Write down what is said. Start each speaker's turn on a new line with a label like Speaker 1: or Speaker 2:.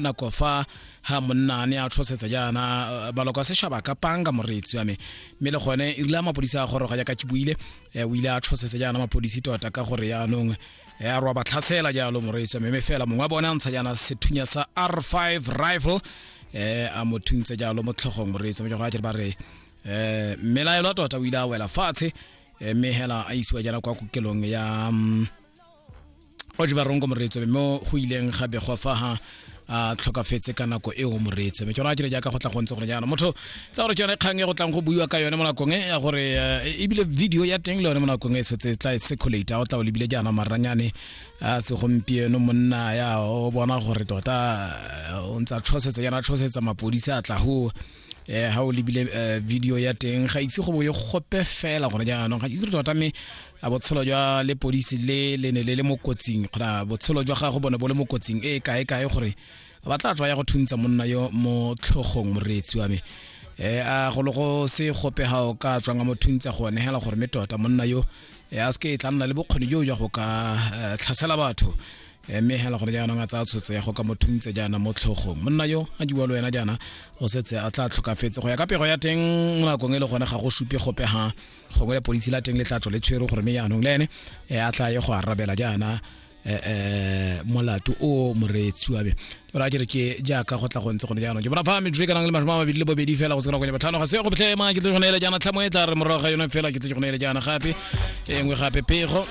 Speaker 1: Nako fa ha monna a ne a tshosetsa jaana maloko a sešaba ka panga, moreetsi wa me, mme le gone e rile a mapodisi a goroga, jaaka ke buile, o ile a tshosetsa jaana mapodisi tota ka gore yaanong a roa ba tlhasela jalo, moreetsi wa me. Mme fela mongwe wa bone a ntsha jaana sethunya sa R5 rifle, a mo thuntse jalo mo tlhogong, moreetsi wa me. Jalo ba re mmelaelwa tota o ile a wela fatshe, mme hela a isiwa jaana kwa kokelong ya Otjiwarongo, moreetsi, mo go ileng ga begwa fa ha a tlhokafetse ka nako eo, moreetsi. Mme tsona ke jaaka go tla go ntse gore jaana motho tsa gore ke yone kgang e go tlang go buiwa ka yone mo nakong e ya gore ebile video ya teng le yone mo nakong e setse e tla e circulate. O tla o lebile jaana maranyane a segompieno, monna ya o bona gore tota o ntse a tshosetsa jaana, a tshosetsa mapodisi a tla ho ha o lebile video ya teng, ga itse go bo e gope fela gore jaanong ga itse tota mme a botshelo jwa lepodisi le le ne le le mo kotsing kgotsa botshelo jwa gago bone bo le mo kotsing e kae kae gore ba tla tswa ya go thuntsa monna yo mo tlhogong, moreetsi wa me. A go le go se gope ga o ka tswang a mo thuntsa go negela gore mme tota monna yo a se ke e tla nna le bokgoni jo jwa go ka tlhasela batho, mme hela gore jaanong a tsaya tshwetso ya go ka mo thuntse jaana mo tlhogong monna yo a diwa le wena jaana o setse a tla tlhokafetse go ya ka pego ya teng mo nakong e le gone ga go supe gope ha gongwe lepodisi la teng le tla tswa le tshwere gore mme jaanong le ene a tla ye go arabela jaana molato o, moreetsi wa me. Ora ke re ke jaaka go tla go ntse gone jaanong ke bona fa metsotso e kanang le 22 fela go se kana 5 ga se go botlhe ma ke tle go neele jaana tlhamo e tla re morago ga yone fela ke tle go neele jaana gape e nngwe gape pego.